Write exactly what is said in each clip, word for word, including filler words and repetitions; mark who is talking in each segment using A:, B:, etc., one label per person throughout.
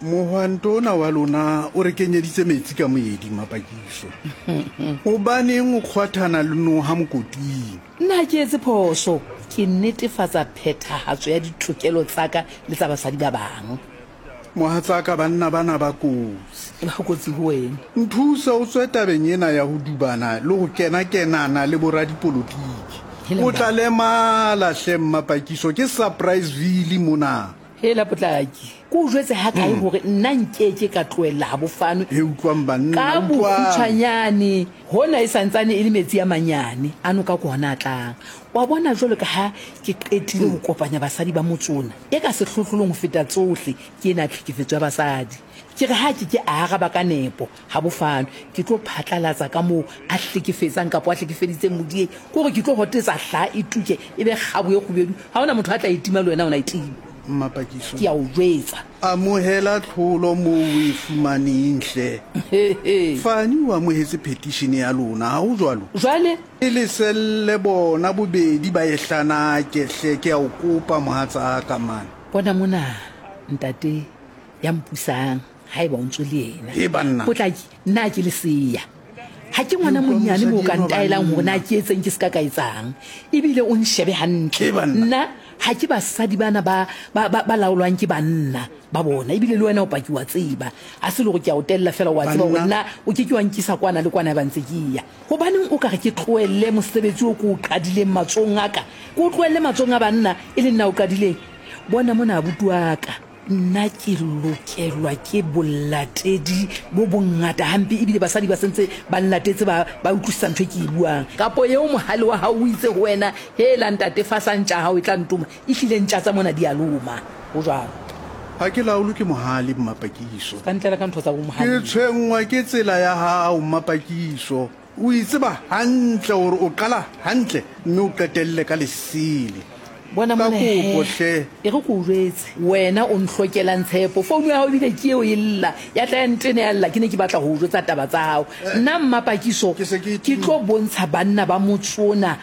A: Mohwanto ona wa lona o re kenyeditse metsi ka moedi, Mmapakiso. Hobaneng o kgwathana le noha mokoting?
B: Nna ha ke etse phoso. Ke netefatsa phethahatso ya ditokelo tsa ka le tsa basadi ba bang.
A: Mohatsaka, banna bana ba kotsi.
B: Ba kotsi ho wena.
A: Nthuse o tswe tabeng ena ya ho dubana le ho kena-kenana le boradipolotiki. O tla lemala hle, Mmapakiso, ke Surpriseville mona.
B: Hela Potlaki, ke o jwetse hakae hore nna nkeke ka tlohella ha bo fanwe
A: He, utlwang banna,
B: ka
A: utlwang.
B: bokgutshwanyane. Hona e sa ntsane e le metsi a manyane a noka ke hona a tlang. Wa bona jwalo ka ha ke qetile ho kopanya basadi ba motse ona, e ka sehlohlolong ho feta tsohle ke ena tlhekefetso ya basadi. Ke re ha ke ke a araba ka nepo ha bo fanwe, ke tlo phatlalatsa ka moo a hlekefetsang kapa a hlekefeditseng modieng. Ke hore ke tlo hotetsa hlaha e tuke e be kgabo e kgubedu. Ha hona motho a tla e tima le wena o na e tima.
A: Mmapakiso.
B: Ke a o jwetsa.
A: Amohela tlholo moo o e fumaneng hle. Fani o amohetse petition ya lona, ha ho jwalo?
B: Jwale?
A: E leselle bona bobedi ba e hlanake hle, ke a o kopa mohatsaka man.
B: Bona mona ntate ya mpusang haeba o ntso le yena.
A: He banna.
B: Potlaki, nna ke leseya. Ha ke ngwana monyane moo ka ntaelang hore na ke etseng ke ska ka etsang. Ebile o nshebe hantle.
A: He banna.
B: Nna ha ke basadi bana ba, ba, ba, ba laolwang ke banna ba bona. Ebile le wena o paki wa tseba. Ha se le hore ke a o tella feela wa tseba hore
A: Banna.
B: nna o ke ke wa nkisa kwana le kwana ba ntse ke ya. Hobaneng o ka re ke tlohelle mosebetsi o ke o qadileng matsohong a ka? Ke o tlohelle matsohong a banna e le nna o qadileng. Bona mona abuti wa ka. Nna ke lokelwa ke bolatedi bo bongata hampe, ebile basadi ba sentse ba nlatetse ba, ba utlwisisa ntho e ke e buang. Kapo eo mohale wa hao o itse ho wena, hela ntate fasa ntja hao e tla ntoma, ehlile ntja tsa mona di a loma. Ho jwalo.
A: Ha ke laolwe ke mohale, Mmapakiso.
B: Ka ntlela ka ntho tsa bo mohale.
A: Ke tshwenngwa ke tsela ya hao, Mmapakiso. O itseba hantle hore o qala hantle mme o qetelle ka lesele.
B: Bona
A: Ka
B: mona he.
A: kopo hle.
B: E re ke o jwetse, wena o nhlokelang tshepo. Founu ya hao ebile ke eo e lla, ya tla ya ntene ya lla, ke ne ke batla ho o jwetsa taba tsa hao. Nna Mmapakiso,
A: Ke se ke
B: ke tlo bontsha banna ba motse ona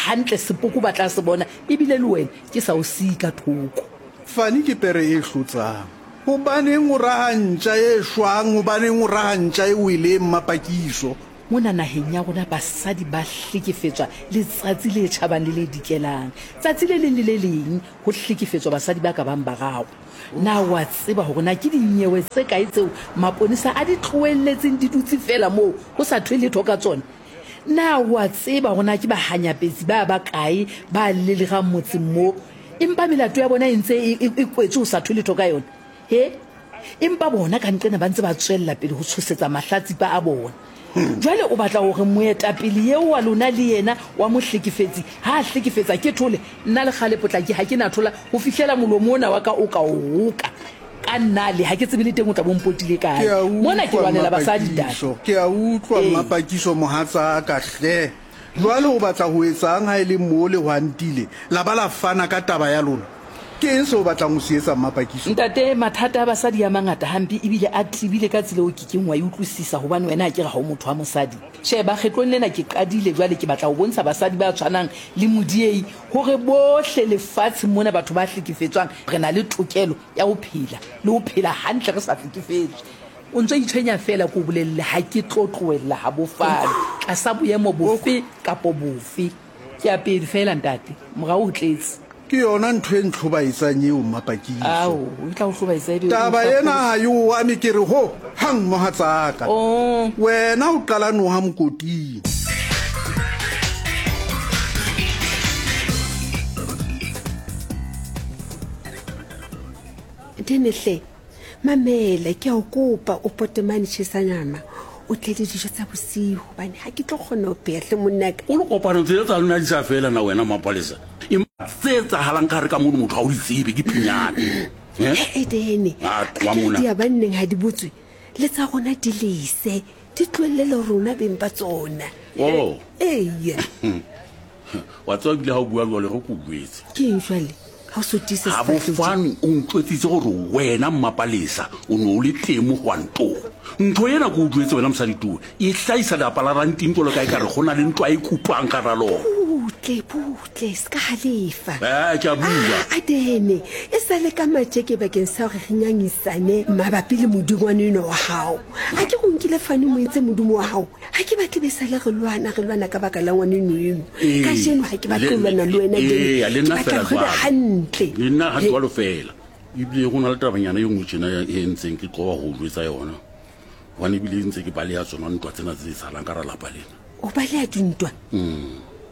B: hantle sepoko ba tla se bona, ebile le wena ke sa o siye ka thoko.
A: Fani ke pere e hlotsang. Hobaneng o raha ntja e shwang, hobaneng o raha ntja e weleng, Mmapakiso?
B: Mona naheng ya rona basadi ba hlekefetswa letsatsi le tjhabang le le dikelang. Tsatsi le leng le le leng ho hlekefetswa basadi ba ka bang bararo. Na wa tseba hore na ke dinyewe tse kae tseo maponesa a di tlohelletseng di dutse feela moo ho sa thwe letho ka tsona? Na wa tseba hore na ke bahanyapetsi ba ba kae ba lelegang motseng moo, empa melato ya bona e ntse e, e, e kwetswe ho sa thwe letho ka yona? He? Empa bona ka nqena ba ntse ba tswella pele ho tshosetsa mahlatsipa a bona. Jwale o batla hore moetapele eo wa lona le yena wa mohlekefetsi ha a hlekefetsa ke thole, nna le kgale Potlaki ha ke na thola ho fihlela molomo ona wa ka o ka o roka. Ka nna le ha ke tsebe le teng o tla bo mpotile kae.
A: Ke a
B: Mona ke
A: utlwa,
B: lwanela basadi, ntate.
A: Mmapakiso. Ke a utlwa,
B: Ee.
A: Mmapakiso, mohatsaka hle. Jwale o batla ho etsang ha e le mo le hwantile la ba la fana ka taba ya lona? Ke eng seo o batlang ho se etsa, Mmapakiso?
B: Ntate, mathata a basadi a mangata hampe ebile a tebile ka tsela eo ke keng wa e utlwisisa, hobane wena ha ke re ha o motho wa mosadi. Sheba, kgetlong lena ke qadile jwale ke batla ho bontsha basadi ba tshwanang le Modiei hore bohle lefatsheng mona batho ba hlekefetswang re na le tokelo ya ho phela le ho phela hantle re sa hlekefetswe. O ntso itshwenya feela ke o bolelle, ha ke tlo tlohella ha bo fane tlasa boemo bofe kapo bofe. Ke ya pele feela ntate, morao ho tletse.
A: Ke yona ntho e ntlhobaetsang eo, Mmapakiso.
B: Ao, o tla o hlobaetsa ebe o
A: Taba
B: tla
A: ena
B: pholosa.
A: ha e o ame, ke re ho hang mohatsaka.
B: Oh.
A: Wena o qala noha mokoting.
C: Denehle, mamela, ke a o kopa o pote mane tjhesa nama. O tle le dijo tsa bosiu hobane ha ke tlo kgona ho pheha hle monnaka.
D: O le kopano tsena tsa lona di sa fela na wena Mapalesa? Empa tse etsahalang ka hare ka mono motho ha o di tsebe ke pinyane. Eh?
C: He, Dene,
D: A tloha mona.
C: di ya banneng ha di botswe, le tsa rona di lese, di tlohelle le rona beng ba tsona.
D: Oh.
C: Eya.
D: Wa tseba ebile ha o bua jwalo re ke o jwetse.
C: Ke eng jwale? Ha o so tiise
D: Ha bo
C: sefahleho tje.
D: fane o ntjwetsitse hore wena Mmapalesa o ne o le teng mohwantong. Ntho ena ke o jwetse wena mosadi tuwe, e hlahisa lelapa la Ranting jwalo ka ekare ho na le ntwa e kupang ka hara lona.
C: Butle, butle, se ka halefa.
D: Eh, ke a bua.
C: Ah, Adene, e sa le ka matjeke bakeng sa hore re ngangisane mabapi le modingwane eno wa hao. A ke go nkile fane mo entse modimo wa hao. Ha ke batle be sale re lwana, re lwana ka baka la ngwaneno eno.
D: Ee.
C: Kajeno ha ke batle ho lwana le wena,
D: Ee,
C: Dene.
D: le
C: Ke
D: nna
C: batla
D: fela
C: re be
D: jwalo.
C: hantle.
D: Le nna ha jwalo fela. Ebile go na le tabanyana e nngwe tjena e ntseng ke qoba ho jwetsa yona. Hobane ebile ntse ke baleha tsona ntwa tsena tse etsahalang ka hara lapa lena.
C: O baleha dintwa?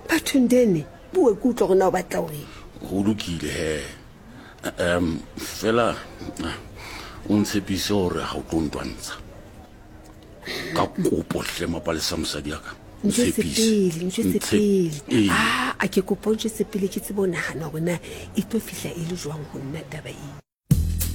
C: Bathong Dene, bua ke utlwa hore na o batla ho reng.
D: Ho lokile he. Um, fela ah, o ntshepise hore ha o tlo ntwantsha. Ka kopo hle Mapalesa mosadi ya ka.
C: Ntjwetse
D: Ntshepise.
C: pele, ntjwetse
D: Ntshep-
C: pele.
D: Ee.
C: Ah, a ke kopa o ntjwetse pele ke tsebe ho nahana hore na e tlo fihla e le jwang ho nna taba eo.